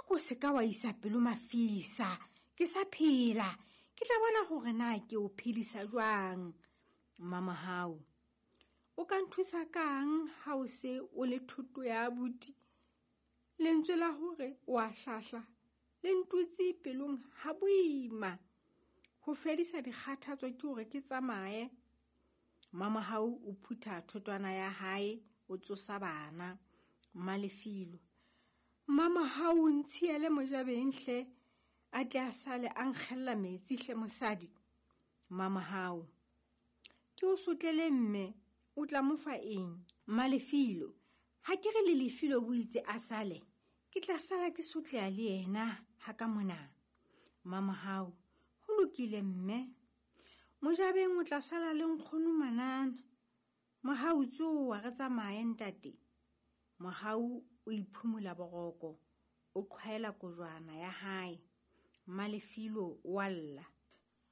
A ko se ka wa isa pelo mafisa, ke sa phela, ke tla bona hore na ke o phedisa jwang. Mmamohau, o ka nthusa kang ha o se o le thoto ya abuti? Lentswe la hore o a hlahla le ntutse pelong ha boima. Ho fedisa dikgathatso ke hore ke tsamaye. Mmamohau o phutha thotwana ya hae, o tsosa bana. Mmalefilo, Mmamohau o ntshiele mojabeng hle, a tle a sale a nkgella metsi hle mosadi. Mmamohau, ke o sotlele mme, o tla mo fa eng? Mmalefilo, ha ke re le Lefilo o itse a sale, ke tla sala ke sotleha le yena ha ka mona. Mmamohau, ho lokile mme. Mojabeng o tla sala le nkgono manana. Mohau tsoha re tsamaye ntate. Mohau o iphumula boroko, o qhwaela kojwana ya hae. Mmalefilo o a lla.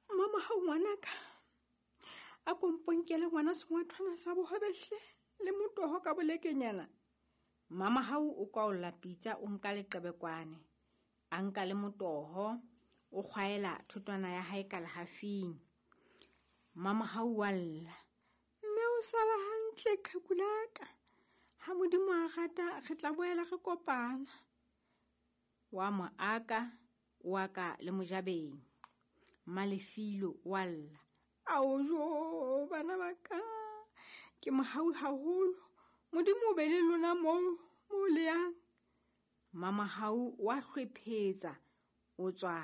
Mmamohau ngwanaka, a ko mponkele ngwana sengwathwana sa bohobe hle le motoho ka bolekenyana. Mmamohau o kwaolla pitsa, o nka leqebekwane, a nka le motoho, o kgwaela thotwana ya hae ka lehafing. Mmamohau wa lla, mme o sala hantle qheku la ka. Ha Modimo a rata re tla boela re kopana. Wa mo aka, o aka le mojabeng. Mmalefilo wa lla, ao jo bana ba ka, ke mohau haholo. Modimo o be le lona moo mo le yang. Mmamohau wa hlwephetsa, o tswa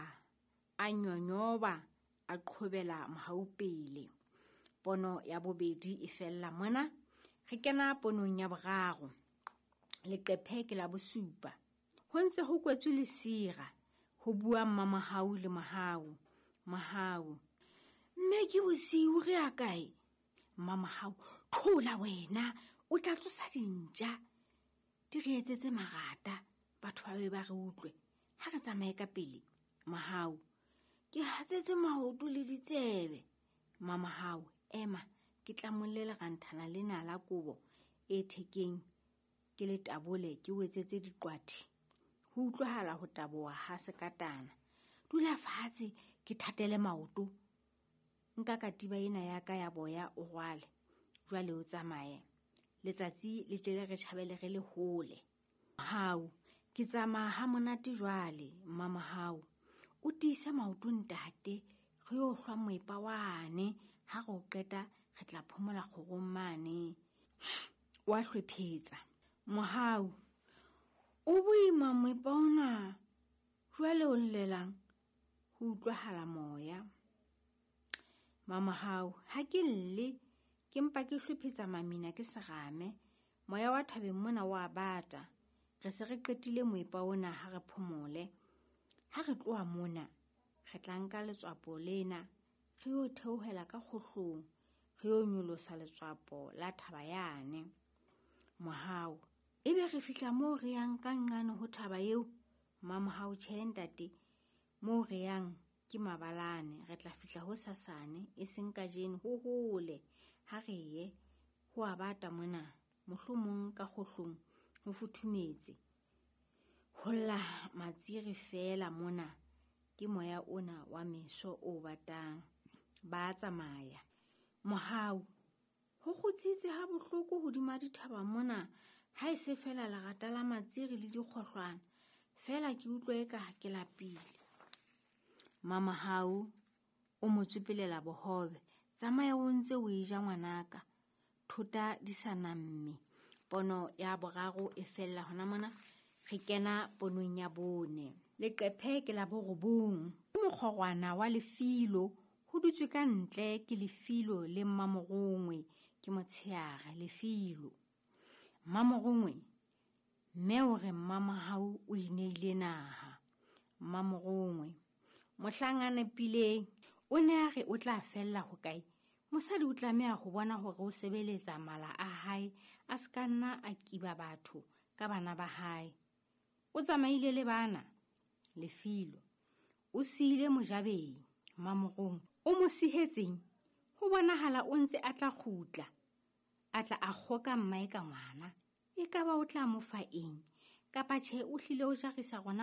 a nyonyoba, a qhobela mohau pele. Pono ya bobedi e fella mona. Re kena ponong ya boraro. Leqephe ke la bosupa. Ho ntse ho kwetswe lesira, ho bua Mmamohau le Mohau. Mohau, mme ke bosiu re ya kae? Mmamohau, thola wena, o tla tsosa dintja di re etsetse marata, batho ba be ba re utlwe. Ha re tsamaye ka pele. Mohau, ke hatsetse maoto le ditsebe. Mmamohau, ema, ke tlamolle leranthana lena la kobo e thekeng, ke le tabole, ke o etsetse diqwathi. Ho utlwahala ho taboha ha sekatana. Dula fatshe, ke thatele maoto. Nka katiba ena ya ka ya boya o rwale. Jwale o tsamaye. Letsatsi le tle le re tjhabele re le hole. Mohau, ke tsamaya ha monate jwale. Mmamohau, o tiise maoto ntate, re yo hlwa moepa wane. Ha re o qeta re tla phomola kgorong mane. Wa hlwephetsa. Mohau, o boima moepa ona, jwale o llelang? Ho utlwahala moya. Mmamohau, ha ke lle, ke mpa ke hlwephetsa mamina ke serame. Moya wa thabeng mona wa bata. Re se re qetile moepa ona, ha re phomole. Ha re tloha mona, re tla nka letswapo lena, re yo theohela ka kgohlong, re yo nyolosa letswapo la thaba yane. Mohau, ebe re fihla moo re yang ka nqane ho thaba eo? Mmamohau, tjhe ntate, moo re yang ke mabalane, re tla fihla ho sasane, e seng kajeno, ho hole. Ha re ye, ho a bata mona, mohlomong ka kgohlong ho futhumetse. Ho lla matsiri feela mona, ke moya ona wa meso o batang. Ba tsamaya. Mohau, ho kgutsitse ha bohloko hodima dithaba mona, ha e se feela lerata la matsiri le dikgohlwana. Feela ke utlwa eka ke lapile. Mmamohau o mo tsopelela bohobe. Tsamaya o ntse o e ja ngwanaka. Thota di sa namme. Pono ya boraro e fella hona mona. Re kena ponong ya bone. Leqephe ke la borobong. Ke mokgorwana wa Lefilo, ho dutswe ka ntle ke Lefilo le Mmamorongwe, ke motsheare Lefilo. Mmamorongwe, mme o re Mmamohau o ineile naha. Mmamorongwe, mohlang a nepileng, o ne a re o tla fella hokae? Mosadi o tlameha ho bona hore o sebeletsa mala a hae, a se ka nna a kiba batho ka bana ba hae. O tsamaile le bana, Lefilo. O siile mojabeng, Mmamorongwe. O mo sihetseng, ho bonahala o ntse a tla kgutla. A tla a kgoka mmae ka ngwana. Ekaba o tla mo fa eng? Kapa tjhe o hlile o jarisa rona